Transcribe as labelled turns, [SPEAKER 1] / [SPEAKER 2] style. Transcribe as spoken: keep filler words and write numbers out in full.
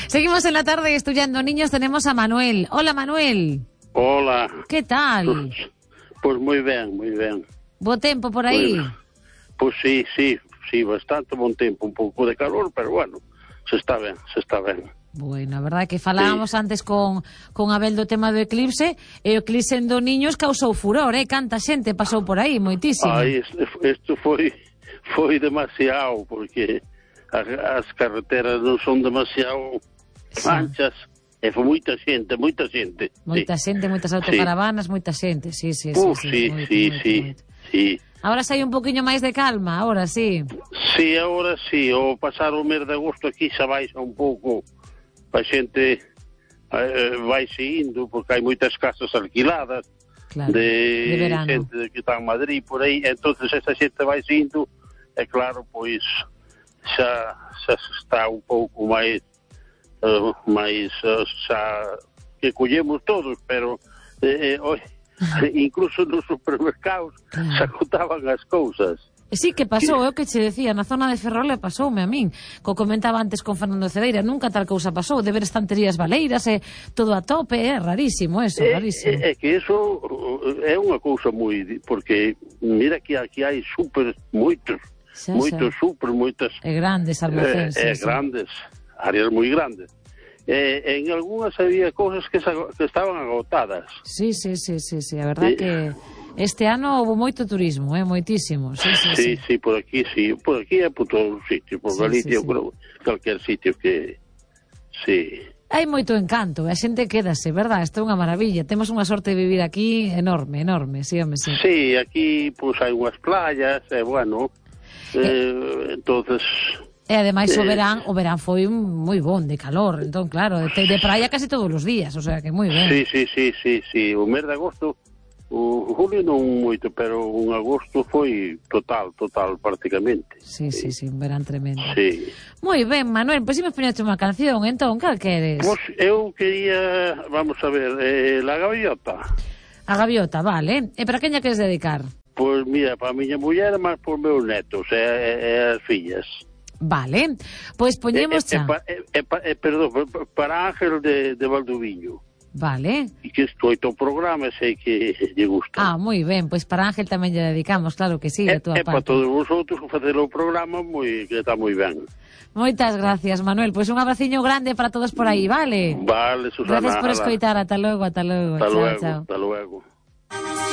[SPEAKER 1] Seguimos en la tarde estudiando niños, tenemos a Manuel. Hola, Manuel.
[SPEAKER 2] Hola.
[SPEAKER 1] ¿Qué tal?
[SPEAKER 2] Pues, pues muy ben, moi ben.
[SPEAKER 1] Bo tempo por aí?
[SPEAKER 2] Pues, pues sí, sí, sí, bastante bon tempo, un pouco de calor, pero bueno, se está ben, se está ben.
[SPEAKER 1] Bueno, a verdade que falábamos
[SPEAKER 2] sí.
[SPEAKER 1] antes con, con Abel do tema do eclipse, e o eclipse do niños causou furor, eh? Canta xente pasou por aí, moitísimo.
[SPEAKER 2] Ai, isto foi, foi demasiado, porque as carreteras non son demasiado anchas, e foi moita xente, moita xente.
[SPEAKER 1] Moita sí. xente, moitas autocaravanas, sí. moita xente, sí, sí,
[SPEAKER 2] uh,
[SPEAKER 1] sí, sí,
[SPEAKER 2] sí,
[SPEAKER 1] moito,
[SPEAKER 2] sí,
[SPEAKER 1] moito,
[SPEAKER 2] sí,
[SPEAKER 1] moito.
[SPEAKER 2] sí.
[SPEAKER 1] Ahora sai un poquinho máis de calma, ahora sí.
[SPEAKER 2] Sí, ahora sí, o pasar o mes de agosto aquí xa baixa un pouco, a xente eh, vaise indo, porque hai moitas casas alquiladas,
[SPEAKER 1] claro,
[SPEAKER 2] de,
[SPEAKER 1] de verano.
[SPEAKER 2] Xente que está en Madrid, por aí, entonces esa xente vaise indo, e claro, pois xa, xa está un pouco máis, uh, máis, uh, xa, que collemos todos, pero, eh, oi, incluso nos supermercados claro. Se agotaban as cousas.
[SPEAKER 1] Sí, que pasou, é o que che decía, na zona de Ferrol pasoume a min, co comentaba antes con Fernando Cedeira, nunca tal cousa pasou, de ver estanterías baleiras e todo a tope, é rarísimo eso,
[SPEAKER 2] é,
[SPEAKER 1] rarísimo.
[SPEAKER 2] É, é que eso é unha cousa moi, porque mira que aquí hai super, moitos, xa, moitos xa. super, moitas...
[SPEAKER 1] E grandes almacenes.
[SPEAKER 2] É, é grandes, áreas moi grandes. Eh, en algunhas había cousas que, que estaban agotadas.
[SPEAKER 1] Sí, sí, sí, sí, sí. A verdad sí. que este ano houve moito turismo, eh, moitísimo. Sí, sí,
[SPEAKER 2] sí,
[SPEAKER 1] sí,
[SPEAKER 2] sí, por aquí, sí, por aquí é por todos os sitios, por sí, Galicia, sí, sí. por calquer sitio que, sí.
[SPEAKER 1] Hai moito encanto, a xente quédase, verdad? Isto é unha maravilla, temos unha sorte de vivir aquí enorme, enorme, sí, home, sí.
[SPEAKER 2] Sí, aquí, pois, pues, hai unhas playas, e, eh, bueno, eh, eh, entonces...
[SPEAKER 1] E ademais o verán, o verán foi moi bon, de calor, entón claro, de, de praia casi todos os días, o sea que moi ben.
[SPEAKER 2] Sí, sí, sí, sí, sí, o mes de agosto, o julio non moito, pero un agosto foi total, total, prácticamente.
[SPEAKER 1] Sí, sí, sí, un verán tremendo.
[SPEAKER 2] Sí.
[SPEAKER 1] Moi ben, Manuel, pois pues, imos poñerte unha canción, entón, cal queres?
[SPEAKER 2] Pois pues, eu quería, vamos a ver, eh, La Gaviota.
[SPEAKER 1] A Gaviota, vale, e para queña queres dedicar?
[SPEAKER 2] Pois pues, mira, para a miña muller, mas por meus netos e, e, e as fillas.
[SPEAKER 1] Vale, pois poñemos xa.
[SPEAKER 2] Eh, eh, eh, eh, perdón, para Ángel de, de Valdoviño.
[SPEAKER 1] Vale.
[SPEAKER 2] E que escoito o programa, sei que lle gusta.
[SPEAKER 1] Ah, moi ben, pois para Ángel tamén lle dedicamos, claro que sí,
[SPEAKER 2] a
[SPEAKER 1] tua
[SPEAKER 2] parte. E
[SPEAKER 1] parte.
[SPEAKER 2] para todos vosotros facer o programa moi, que está moi ben.
[SPEAKER 1] Moitas gracias, Manuel, pois un abraciño grande para todos por aí, vale?
[SPEAKER 2] Vale, Susana.
[SPEAKER 1] Gracias por escoitar, ata logo, ata logo.
[SPEAKER 2] Ata
[SPEAKER 1] chao,
[SPEAKER 2] luego,
[SPEAKER 1] chao.
[SPEAKER 2] Ata luego.